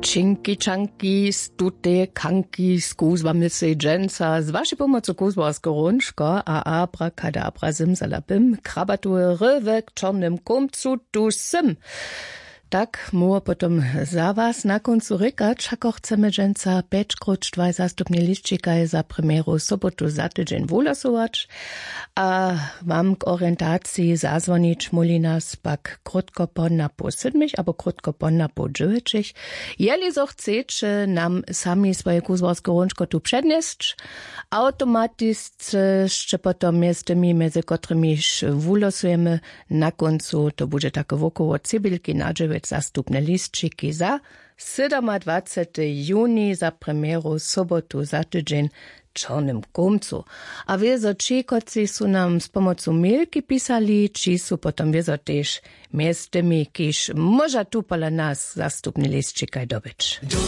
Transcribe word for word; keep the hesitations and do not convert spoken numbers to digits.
Činki čanki z tutej kanki z kuzłami sej dźensa z wašej pomocu kuzłarskeho hrónčka a abrakadabra zymzala bym krabatowe rywy k čornym kómcu tu sym. Tak móhło potom za was na kóncu rěkać, hako chcemy dźensa pjećkróć dwaj zastupne lisćikaj za premjeru sobotu za tydźeń wuhlasować. A wam k orientaciji zazwonić móhli nas pak krótko po napoł sydmich abo krótko po napoł dźewjećich. Jeli zo chceće nam sami swoje kuzłarske hrónčko tu přednjesć, awtomatisce sće potom mjez tymi mjez kotrymiž wulosujemy na kóncu to budźe take wokoło cebulki na dźewjeć zastupne lisćiki za sydomadwacety juni za premjeru sobotu za tydźeń w čornym kómcu. A wězo ći kotřiž su nam z pomocu milki pisali ći su potom wězo tež mjez tymi kiž móža tu pola nas zastupny lisćikaj dobyć.